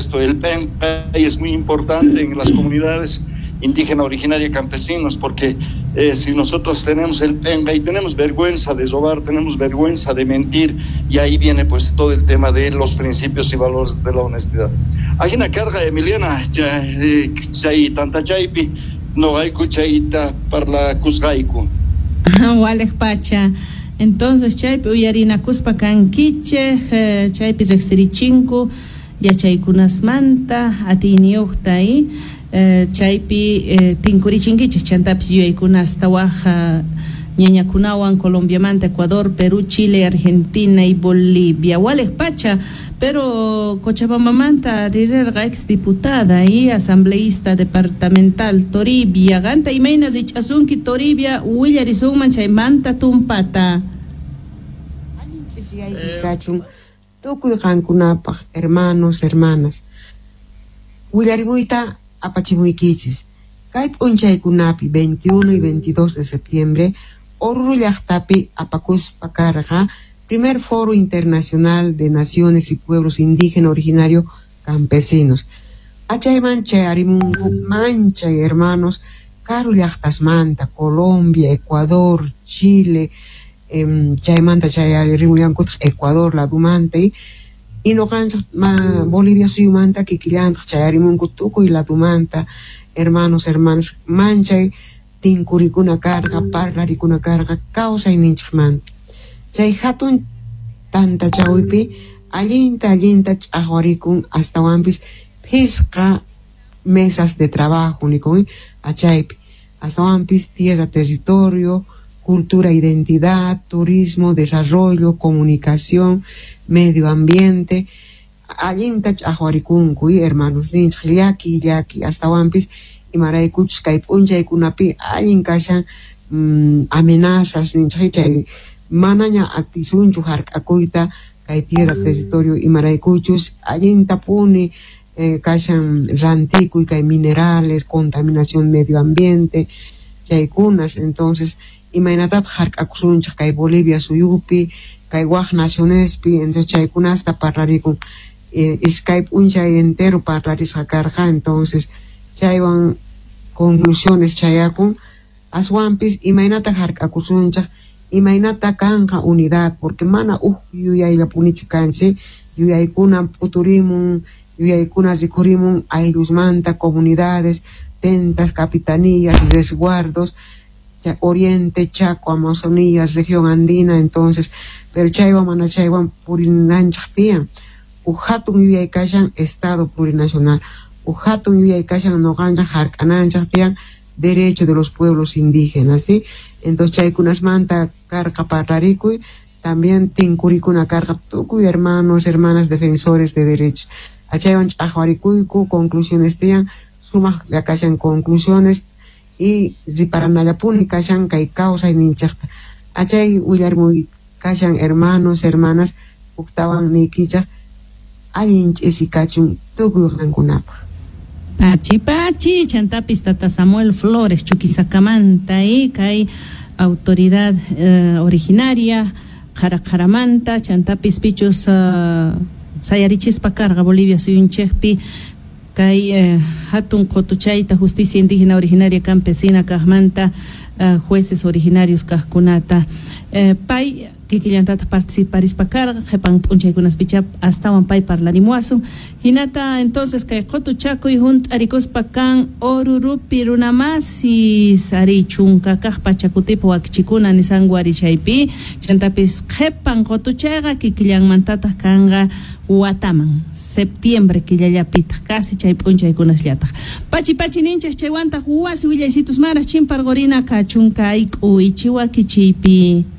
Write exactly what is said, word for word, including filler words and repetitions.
supuesto, el penqay es muy importante en las comunidades indígena originaria campesinos, porque eh, si nosotros tenemos el penqay, tenemos vergüenza de robar, tenemos vergüenza de mentir, y ahí viene pues todo el tema de los principios y valores de la honestidad. Hay una carga, Emiliana, chay tantachaypi, noqayku chayta parlakusqayku. Walej pacha. Entonces chaypi uyarinakuspa kankichej, eh, chaypi riqsirichinku yachaykunasmanta atiyniyuqta y eh, chaypi eh, tinkurichinkichej chantapis yuyaykunasta waj ñañakunawan Colombiamanta, Ecuador, Perú, Chile, Argentina y Bolivia. Walej pacha, pero Cochabambamanta rirerqa ex diputada y asambleísta departamental Toribia. Ganta imayna rich'asunki Toribia, willarisunman chaymanta tumpata. Kachun tukuy qankunapaq, hermanos, hermanas. Willarimuyta apachimuykichis. Kay p'unchaykunapi veintiuno y veintidós de septiembre, Oruro llaqtapi apakuspa karqa primer Foro Internacional de Naciones y Pueblos Indígena Originario Campesinos. Achayman chayarimunku manchay hermanos karu llaqtasmanta, Colombia, Ecuador, Chile, eh, chaymanta chayarimullankutaq Ecuador ladumanta y noqanchaq ma Bolivia suyumanta kikillantaq chayarimunku tukuy ladumanta, hermanos, hermanas, manchay tinkurikuna karqa, parlarikuna karqa, kawsayninchikmanta. Chay hatun tantachawpi allinta allinta ch'aqwarikun astawanpis phisqa mesas de trabajo nikun achaypi, astawanpis tierra, territorio, cultura, identidad, turismo, desarrollo, comunicación, medio ambiente, allinta ch'aqwarikunku hermanos ninchik llaki llaki astawanpis imaraykuchus kay p'unchaykunapi allin kashan mm, amenazas ninchik chay manaña atisunchu hark'akuyta kay tierra territorio imaraykuchus allintapuni eh, kashan rantikuy kay minerales, contaminación medio ambiente chaykunas. Entonces imaynatataq hark'akusunchik kay Bolivia suyupi kay waj nacionespi, entonces chaykunasta parlarikun eh, iskay p'unchay entero parlarisqa karqa. Entonces chaywan conclusiones chayakun aswanpis imaynata hark'akusunchik imaynata kanqa unidad, porque mana uj yuyayllapunichu kanchik, yuyaykuna p'uturimun, yuyaykuna rikhurimun ayllusmanta, comunidades, tentas, capitanías, resguardos, Oriente, Chaco, Amazonía, región andina. Entonces, pero chaywan mana chaywan purinanchik tiyan. Uj hatun yuyay kashan Estado plurinacional, uj hatun yuyay kashan noqanchik hark'ananchik tiyan derecho de los pueblos indígenas, ¿sí? Entonces chaykunasmanta karqa parlarikuy, también tinkurikuna karqa tukuy hermanos, hermanas defensores de derechos. Achaywan ch'aqwarikuyku, conclusiones tiyan, sumaq kashan conclusiones y riparanallapuni kashan kay kawsayninchikta. Achay willarmuy kashan hermanos, hermanas, huktawan niykichaq allin ch'isi kachun tukuy qankunapaq. Pachi pachi, chantapis tata Samuel Flores Chuquisakamanta y kay autoridad eh, originaria Qaraqaramanta, chantapis pichus uh, sayarichispa karqa Bolivia suyunchikpi kay eh, hatun qotuchayta justicia indígena originaria campesina kaqmanta uh, jueces originarios kaqkunata eh, pay kikillantata participarispa karqa qhipan p'unchaykunaspicha astawan pay parlarimuwasun. Hinata entonces kay qotuchakuy hunt'arikuspa kan Orurupi runamasis ari chunka kaq pachakutipi wakichikuna nisanku ari chaypi chantapis qhipan qotuchayqa kikillanmantataq kanqa wataman septiembre killallapitaq casi chay p'unchaykunasllataq. Pachi pachi ninchik chaywantaq wasi willaysitus maraq chimparqurina kachun kay k'uychi wakichiypi.